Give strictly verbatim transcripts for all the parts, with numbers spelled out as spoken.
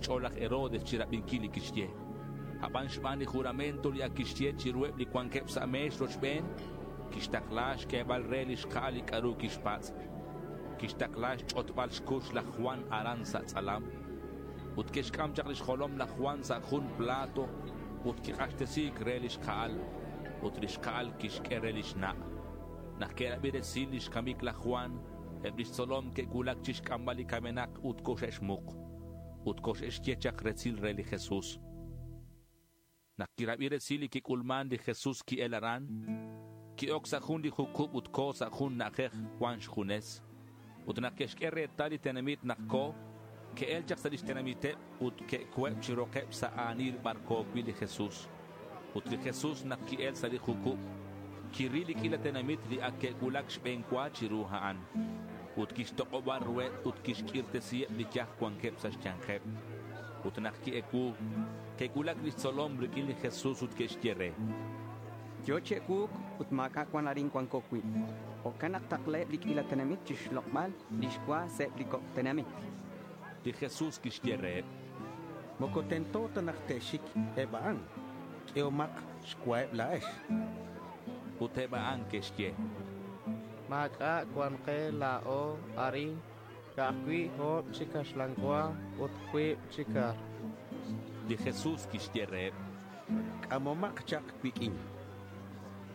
xch'o̱l laj Herodes chirabinquil li quixye. Aban xban li juramento li ac quixye chiruheb li cuanqueb sa' me̱x rochben, quixtakla xq'uebal re li xka'al li c'a'ru quixpatz'. Quixtakla xch'otbal xcux laj Juan aran sa' tz'alam. Ut que'xc'am chak lix jolom laj Juan sa' jun plato ut quik'axtesi̱c re lix ka'al. Ut lix ka'al quixq'ue re lix na'. Nak que'rabi resil lix camic laj Juan, eb lix tzolom que'cuulac chixc'ambal li camenak ut coxe'xmuk. Ut coxe'xye chak resil re li Jesús. Nak quirabi resil li quic'ulman, li Jesús qui'el aran. Qui'oc sa' jun li jucub ut co sa' jun na'ajej cuan xjunes. Ut nak que'xq'ue retal li tenamit nak co, que'el chak sa' lix tenamiteb ut que'cueb chi rokeb sa' a̱nil bar co cui' li Jesús. Ut li Jesús nak qui'el sa' li jucub, quiril li q'uila tenamit li ac que'cuulac xbe̱n cua chiru a'an. Ut quixtok'oba ruheb ut quixq'uirtesiheb li yaj cuanqueb sa' xya̱nkeb. Ut nak qui-ecuu, que'cuulac lix tzolom riq'uin li Jesús ut que'xye re: Yo chi ecuuc ut ma̱c'a' cuan arin cuanco cui'. Jo'can nak taklaheb li q'uila tenamit chixlok'bal lix cua sa' eb li coc' tenamit. Li Jesús quixye reheb: Moco tento ta nak te'xic eb a'an. Q'uehomak xcuaheb la̱ex. Ut eb a'an que'xye: Ma̱c'a' cuan ke la̱o arin, ca'aj cui' o̱b chi caxlan cua ut cuib chi car. Li Jesús quixye reheb: C'amomak chak cuiq'uin.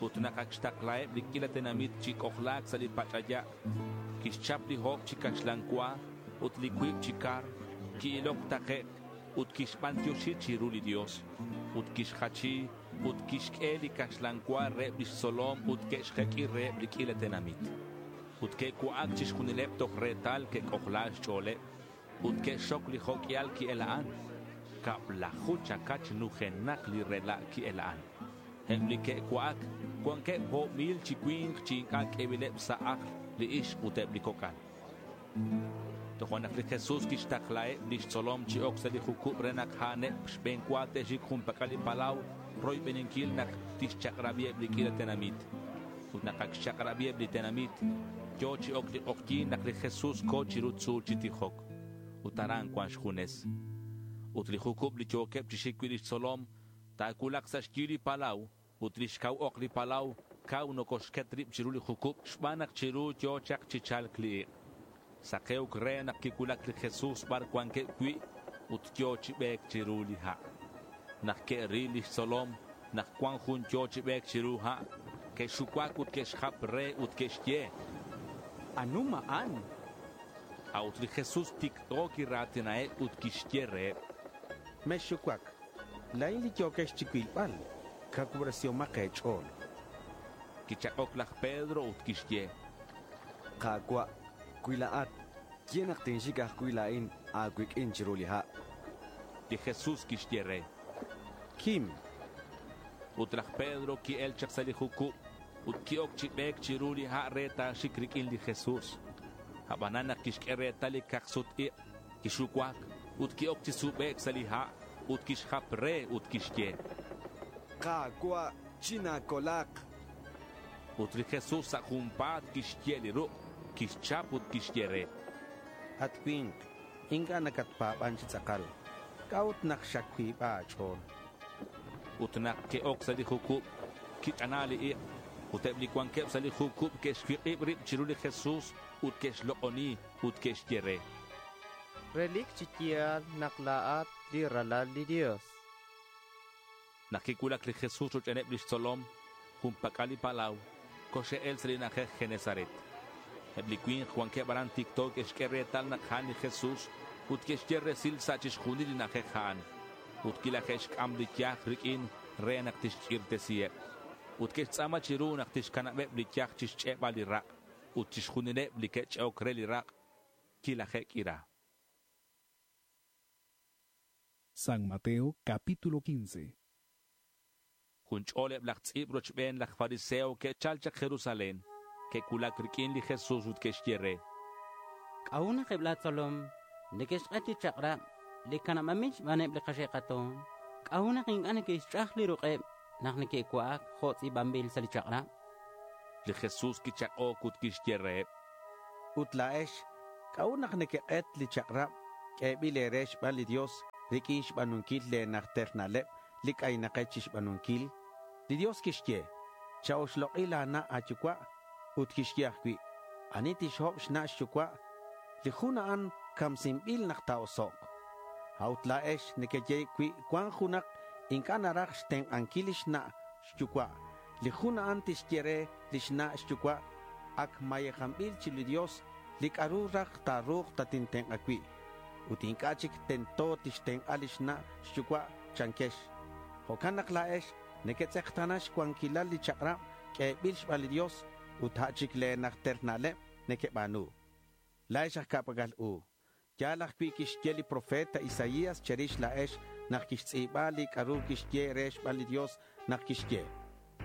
Ut nak ac xtaklaheb li q'uila tenamit chi c'ojla̱c sa' li pach'aya', quixchap li o̱b chi caxlan cua ut li cuib chi car, qui-iloc takec' ut quixbantioxi chiru li Dios. Ut quixjachi ut quixq'ue li caxlan cua reheb lix tzolom ut que'xjeq'ui reheb li q'uila tenamit. Ut que'cua'ac chixjunileb toj retal que'c'ojla xch'o̱leb. Ut que'xxoc li jo' q'uial qui-el a'an. Cablaju chacach nujenak li rela' qui-el a'an. Eb li que'cua'ac cuanqueb o̱b mil chi cui̱nk chi inc'a' q'uebileb sa' ajl li ixk ut eb li coc'al. Tojo'nak li Jesús quixtaklaheb lix tzolom chi oc sa' li jucub re nak a'aneb xbe̱n cua te'xic jun pac'al li palau roybeninquil nak tixchak'rabiheb li q'uila tenamit. Ut nak ac xchak'rabiheb li tenamit, yo̱ chi oc li k'ojyi̱n nak li Jesús co chiru tzu̱l chi tijoc. Ut aran cuan xjunes. Ut li jucub li yo̱queb chi xic cui' lix tzolom, ta̱cuulak sa' xyi li palau ut lix cau ok li palau cau nocoxquet rib chiru li jucub xban nak chiru yo̱ chak chi cha̱lc li ik'. Sakeuc re nak quicuulac li Jesús bar cuanqueb cui' ut yo̱ chi be̱c chiru li ha'. Nak que'ril lix tzolom nak cuan jun yo̱ chi be̱c chiru ha', que'xucuac ut que'xjap re ut que'xye: Anum a'an. A'ut li Jesús ticto quira̱tinaheb ut quixye reheb: Mexxucuac. La̱in li yo̱quex chicuilbal. Cacuubresihomak e̱ch'o̱l. Quichak'oc laj Pedro ut quixye: Ka̱cua', cui la̱at, ye nak tinxic ajcui' la̱in a̱cuiq'uin chiru li ha'. Li Jesús quixye re: Quim. Ut laj Pedro qui-el chak sa' li jucub ut qui-oc chi be̱c chiru li ha' re ta̱xic riq'uin li Jesús. Abanan nak quixq'ue retal li cak-sut-ik', quixucuac ut qui-oc chi subek' sa' li ha' ut quixjap re ut quixye: Ka̱cua', china̱colak. Ut li Jesús sa' junpa̱t quixye' li ruk', quixchap ut quixye re: At cui̱nk, inc'a' nacatpa̱ban chi tz'akal. ¿C'a'ut nak xacuiba a̱ch'o̱l? Ut nak que'oc sa' li jucub, quich'ana li ik' ut eb li cuanqueb sa' li jucub que'xcuik'ib rib chiru li Jesús ut que'xlok'oni ut que'xye re: Relic chi ya̱l nak la̱at li Ralal li Dios. Nak quicuulac li Jesús rochbeneb lix tzolom, jun pac'al li palau, coxe'el sa' li na'ajej Genesaret. Eb li cui̱nk cuanqueb aran ticto que'xq'ue retal nak a'an li Jesús ut que'xye resil sa' chixjunil li na'ajej a'an. Ut quilaje'xc'am li yaj riq'uin re nak tixq'uirtesiheb. Ut que'xtz'a̱ma chiru nak tixcanabeb li yaj chixch'e'bal li rak' ut chixjunileb li que'ch'e'oc re li rak' quilaje'q'uira. San Mateo capítulo quince. Jun ch'ol eb laj tz'i̱b rochben laj fariseo que'chal chak Jerusalén, que'cuulac riq'uin li Jesús ut que'xye re: K'a'ut nak eb la tzolom neque'xk'et li chak'rab li canabanbil xbaneb li kaxe'kato̱n? K'a'ut nak inc'a' neque'xch'aj li ruk'eb nak neque'cua'ac jo' tz'i̱banbil sa' li chak'rab? Li Jesús quichak'oc ut quixye reheb: Ut la̱ex, k'a'ut nak nequek'et li chak'rab q'uebil e̱re xban li Dios riq'uin xba̱nunquil le̱ najter na'leb li c'aynakex chixba̱nunquil? Li Dios quixye, cha-oxlok'i la̱ na' a̱yucua'. Ut quixye ajcui', ani tixhob xna' xyucua', li jun a'an camsinbil nak ta̱osok'. A'ut la̱ex nequeye cui cuan junak inc'a' naraj xtenk'anquil lix na' xyucua', li jun a'an tixye re lix na' xyucua', ac mayejanbil chiru li Dios li c'a'ru raj ta̱ru̱k tatintenk'a cui'. Ut inc'a' chic tento tixtenk'a lix na' xyucua', chanquex. Jo'can nak la̱ex nequetz'ekta̱na xcuanquilal li chak'rab q'uebil xban li Dios ut a' chic le̱ najter na'leb nequeba̱nu. La̱ex aj ca'pac'al u. Ya̱l ajcui' quixye li profeta Isaías che̱rix la̱ex nak quixtz'i̱ba li c'a'ru quixye re xban li Dios nak quixye: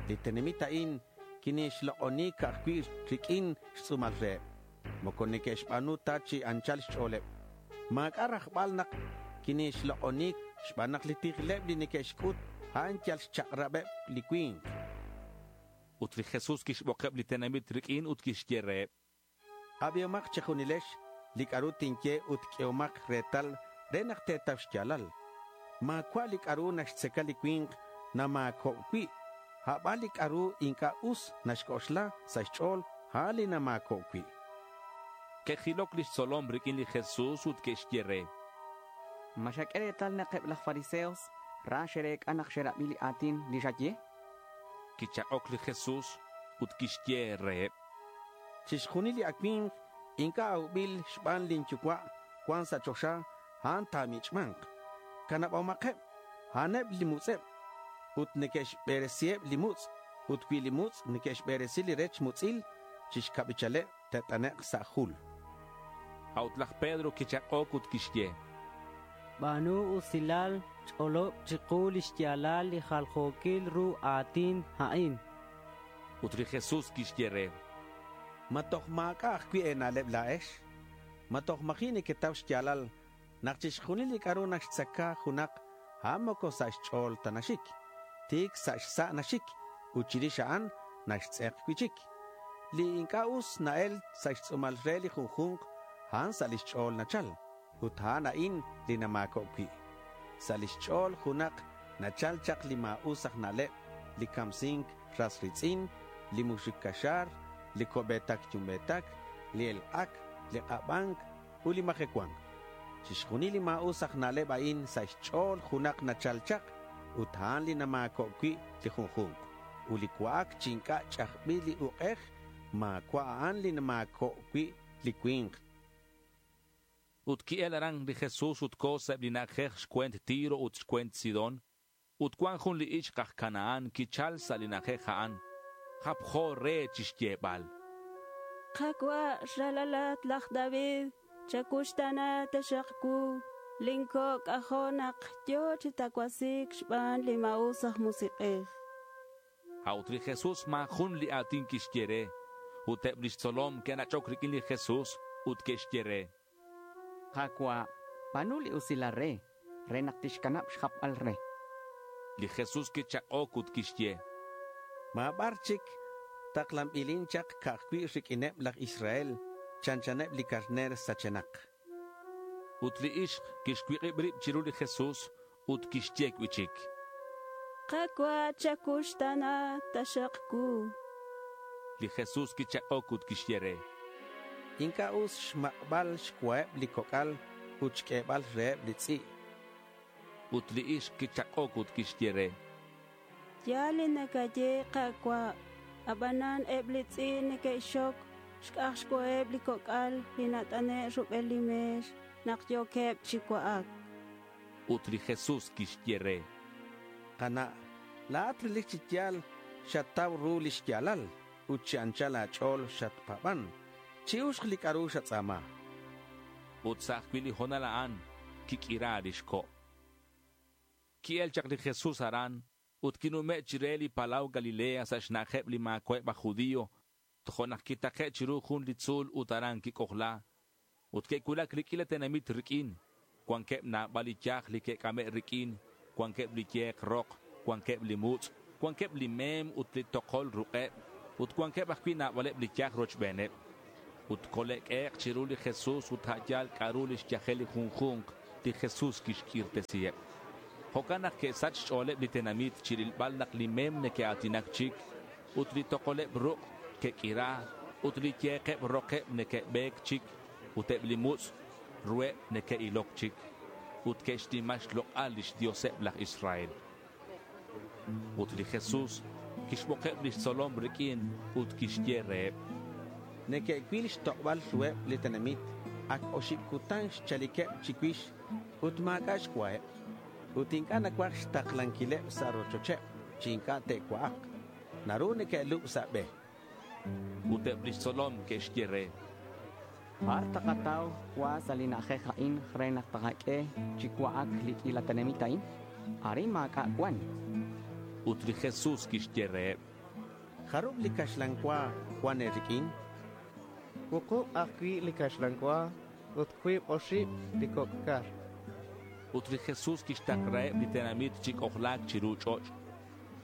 Li tenamit a'in quinixlok'oni ca'aj cui' riq'uin xtz'u̱mal reheb. Moco neque'xba̱nu ta chi anchal xch'o̱leb. Ma̱c'a' rajbal nak quinixlok'oni xban nak li tijleb li neque'xc'ut a'an yal xchak'rabeb li cui̱nk. Ut li Jesús quixbokeb li tenamit riq'uin ut quixye reheb: Abihomak che̱junilex li c'a'ru tinye ut q'uehomak retal re nak te̱tau xya̱lal. Ma̱cua' li c'a'ru naxtzaca li cui̱nk nama̱cob cui'. A'ban li c'a'ru inc'a' us naxc'oxla sa' xch'o̱l, a'an li nama̱cob cui'. Que'jiloc lix tzolom riq'uin li Jesús ut que'xye re: ¿Ma xaq'ue retal nak eb laj fariseos ra xe'rec'a nak xe'rabi li a̱tin li xaye? Quichak'oc li Jesús ut quixye reheb: Chixjunil li acui̱mk inc'a' aubil xban lin Yucua' cuan sa' choxa, a'an ta̱mich'ma̱nk. Canabomakeb. A'aneb li mutz'eb ut neque'xberesiheb li mutz'. Ut cui li mutz' neque'xberesi li rech mutz'il, chixcabichaleb te't'anek' sa' jul. A'ut laj Pedro quichak'oc ut quixye: Ba̱nu usilal, ch'olob chiku lix ya̱lal li jaljo̱quil ru a̱tin a'in. Ut li Jesús quixye re: ¿Ma toj ma̱c'a' ajcui' e̱na'leb la̱ex? ¿Ma toj ma̱ji' nequetau xya̱lal nak chixjunil li c'a'ru naxtzaca junak, a'an moco sa' xch'o̱l ta naxic? Ti̱c sa' xsa' naxic ut chirix a'an naxtz'ek cui'chic. Li inc'a' us na-el sa' xtz'u̱mal re li junju̱nk, a'an sa' lix ch'o̱l nachal. Ut a'an a'in li nama̱cob cui'. Sa' lix ch'o̱l junak nachal chak li ma̱us aj na'leb, li camsink ras ri̱tz'in, li muxuc caxa̱r, li co'be̱tac yumbe̱tac, li elk'ac, li k'abanc ut li majecua̱nc. Chixjunil li ma̱us aj na'leb a'in sa' xch'o̱l junak nachal chak ut a'an li nama̱cob cui' li junju̱nk. Ut li cua'ac chi inc'a' ch'ajbil li uk'ej ma̱cua' a'an li nama̱cob cui' li cui̱nk. Ut qui'el aran li Jesús ut co̱ sa' eb li na'ajej xcue̱nt Tiro ut xcue̱nt Sidón. Ut cuan jun li ixk aj Canaán quichal sa' li na'ajej a'an. Japjo re chixyebal. Ka̱cua' ralalat laj David, chacuxtana taxak cu. Linco' c'ajo' nak yo̱ chi tacuasi̱c xban li ma̱us aj musik'ej. A'ut li Jesús ma̱ jun li a̱tin quixye re. Ut eb lix tzolom que'nach'oc riq'uin li Jesús ut que'xye re: Ka̱cua', ba̱nu li usilal re, re nak tixcanab xjapbal re. Li Jesús quichak'oc ut quixye: Ma̱ bar chic taklanbilin chak ca'aj cui' riq'uineb laj Israel chanchaneb li carner sachenak. Ut li ixk quixcuik'ib rib chiru li Jesús ut quixye cui'chic: Ka̱cua' chacuxtana taxak cu. Li Jesús quichak'oc ut quixye re: Inc'a' us xmak'bal xcuaheb li coc'al ut xq'uebal reheb li tz'i'. Ut li ixk quichak'oc ut quixye re: Ya̱l li nacaye, Ka̱cua'. Abanan eb li tz'i' neque'xxoc xc'aj xcuaheb li coc'al li nat'ane' rubel li me̱x nak yo̱queb chi cua'ac. Ut li Jesús quixye re: Kana', la̱at relic chi ya̱l xatau ru lix ya̱lal ut chi anchal a̱ch'o̱l xatpa̱ban. Chi'uxk li c'a'ru xatz'a̱ma. Ut sa' ajcui' li ho̱nal a'an quiq'uira lix co'. Qui'el chak li Jesús aran ut quinume' chire li Palau Galilea sa' xna'ajeb li ma̱cua'eb aj judío. Tojo'nak quitake' chiru jun li tzu̱l ut aran quic'ojla. Ut que'cuulac li q'uila tenamit riq'uin. Cuanqueb nabal li yaj li que'c'ame' riq'uin. Cuanqueb li ye̱k rok, cuanqueb li mutz', cuanqueb li mem ut li tokol ruk'eb. Ut cuanqueb ajcui' nabaleb li yaj rochbeneb. Ut cole'q'uehek' chiru li Jesús ut a' yal c'a'ru lix yajel li junju̱nk Ut li Jesús quixq'uirtesiheb. Jo'can nak que'sach xch'o̱leb li tenamit chirilbal nak li mem neque'a̱tinac chic ut li tokoleb ruk' que'q'uira ut li ye̱keb rokeb neque'be̱c chic ut eb li mutz' ruheb neque'iloc chic. Ut que'xnima xlok'al lix Dioseb laj Israel. Ut li Jesús quixbokeb lix tzolom riq'uin ut quixye reheb: Neque'cuil xtok'bal ruheb li tenamit. Ac oxib cutan xchaliqueb chicuix ut ma̱c'a' xcuaheb. Ut inc'a' nacuaj xtaklanquileb sa' rochocheb chi inc'a' te'cua'ak. Naru neque'lub sa' be. Ut eb lix tzolom que'xye re: Bar takatau cua sa' li na'ajej a'in re nak takaq'ue chi cua'ac li q'uila tenamit a'in? Arin ma̱c'a' cuan. Ut li Jesús quixye reheb: Jarub li caxlan cua cuan e̱riq'uin? Wuqub ajcui' li caxlan cua ut cuib oxib li coc' car. Ut li Jesús quixtaklaheb li tenamit chi c'ojla̱c chiru ch'och'.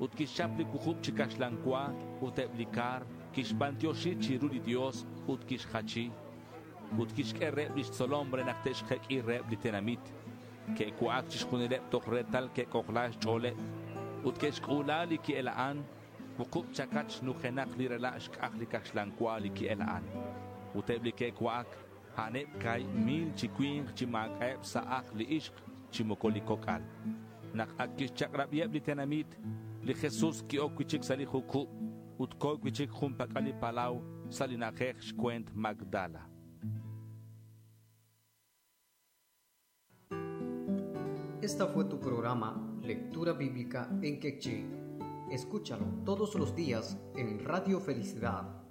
Ut quixchap li wuqub chi caxlan cua ut eb li car, quixbantioxi chiru li Dios ut quixjachi. Ut quixq'ue reheb lix tzolom re nak te'xjeq'ui reheb li tenamit. Que'cua'ac chixjunileb toj retal que'c'ojla xch'o̱leb. Ut que'xc'ula li qui'ela'an. Wuqub chacach nujenak li rela' xc'aj li caxlan cua li qui'ela'an. Ut eb li que'cua'ac, a'aneb ca̱hib mil chi cui̱nk chi ma̱c'a'eb sa' ajl li ixk chi moco li coc'al. Nak ac quixchak'rabiheb li tenamit, li Jesús qui-oc cui'chic sa' li jucub ut co̱ cui'chic jun pac'al li palau sa' li na'ajej xcue̱nt Magdala. Esta fue tu programa Lectura Bíblica en Quechí. Escúchalo todos los días en Radio Felicidad.